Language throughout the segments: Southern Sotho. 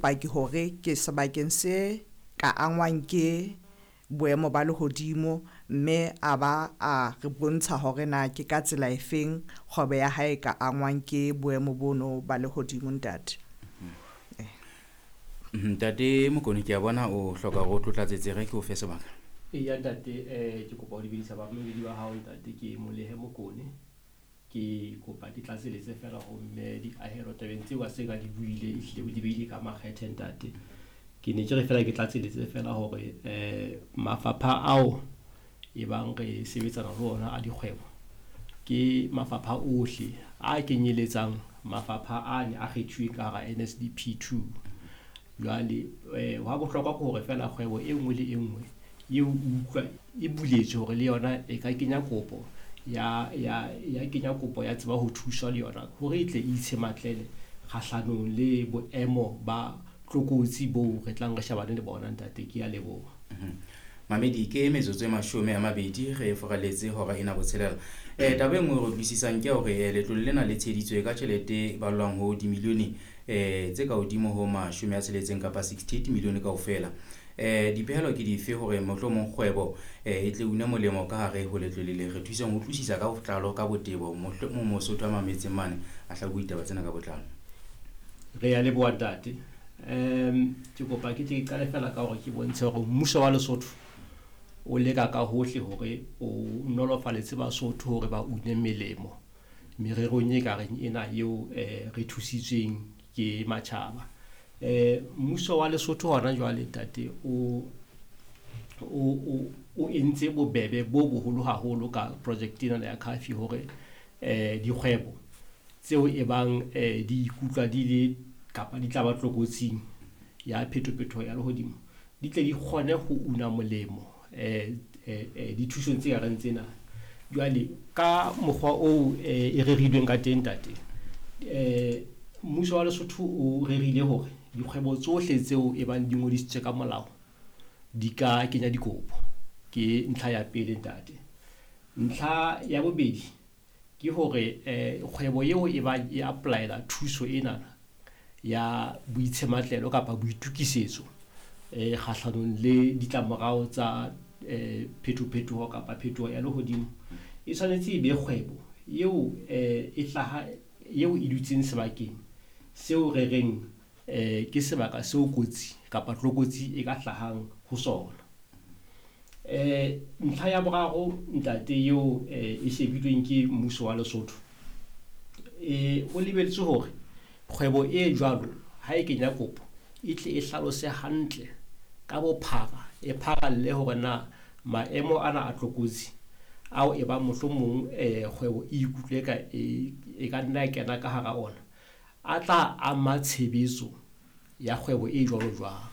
Paki hore ke sebakeng se ka angwang ke boemo ba lehodimo, mme a ba a re bontsha hore na ke ka tsela efeng kgwebo ya hae e ka angwang ke boemo bono ba lehodimo, ntate. Ntate Mokone, ke a bona o hloka hore o tlo tlatsetse, re ke o fe sebaka. Eya ntate, ke kopa ho dumedisa bamamedi ba hao ntate, ke Molehe Mokone. Ke kopa ke tlatseletse fela ho mme Diahelo tabeng tseo a seng a di buile, ehlile o di beile ka makgethe ntate. Ke ne ke re fela ke tlatseletse fela hore mafapha ao e bang re sebetsana le ona a dikgwebo ke mafapha ohle a kenyeletsang mafapha a ne a kgethuweng ka hara NSDP 2. Jwale hwa bohlokwa ke hore fela kgwebo e nngwe le e nngwe eo utlwa e buletswe hore le yona e ka kenya kopo ya ya ya kenya kopo ya tseba ho thuswa le yona hore e tle e itshematlele kgahlanong le boemo ba tlokotsi boo re tlang re shebane le bona ntate. Ke a leboha. Mamedi, ke metsotso e 20 re furaletse hora ena botshelela. Taba e nngwe re utlwisisang ke hore letlole lena le tsheheditswe ka tjhelete e ballwang ho dimilione tse ka hodimo ho 60 kapa 68 milione kaofela. Dipehelo ke dife hore mohlomong kgwebo e tle une molemo ka hare ho letlole le? Re thuseng ho utlwisisa ka botlalo, ka botebo, mohlomong Mosotho a mametseng mane a hlabuwe ditaba tsena ka botlalo. Re a leboha ntate. Ke kopa ke tle ke qale fela ka hore ke bontshe hore mmuso wa Lesotho o leka ka hohle hore o nolofaletse Basotho hore ba une melemo mererong e ka reng ena eo re thusitsweng ke matjhaba. Mmuso wa Lesotho hona jwale ntate o entse bobebe bo boholo haholo ka project ena ya CAFI hore dikgwebo tseo e bang di ikutlwa di le kapa di tla ba tlokotsing ya phetophetoho ya lehodimo di tle di kgone ho una molemo dithusong tse kareng tsena. Jwale ka mokgwa oo e rerilweng ka teng ntate, mmuso wa Lesotho o rerile hore dikgwebo tsohle tseo e bang di ngodisitswe ka molao di ka kenya dikopo. Ke ntlha ya pele ntate. Ntlha ya bobedi ke hore kgwebo eo e bang e apply-ela thuso ena ya boitshematlelo kapa boitukisetso kgahlanong le ditlamorao tsa phetophetoho kapa phetoho ya lehodimo e tshwanetse e be kgwebo eo e hlaha eo e dutseng sebakeng seo re reng ke sebaka seo kotsi kapa tlokotsi e ka hlahang ho sona. Ntlha ya boraro ntate eo e shebilweng ke mmuso wa Lesotho, ho lebelletswe hore kgwebo e jwalo ha e kenya kopo e tle e hlalose hantle ka bophara, e pharalle hore na maemo ana a tlokotsi ao e bang mohlomong kgwebo e ikutlwe ka e ka nna ya kena ka hara ona a tla ama tshebetso ya kgwebo e jwalo jwang.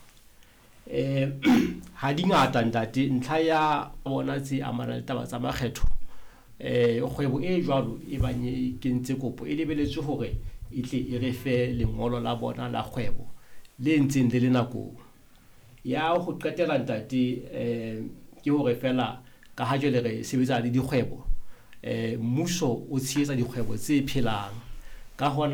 Ha di ngata ntate ntlha ya bona tse amanang le taba tsa makgetho, kgwebo e jwalo e bang e kentse kopo e lebelletswe hore e tle e re fe lengolo la bona la kgwebo le ntseng le le nakong. Ya ho qetela ntate, ke hore fela ka ha jwale re sebetsa le dikgwebo, mmuso o tshehetsa dikgwebo tse phelang ka hona.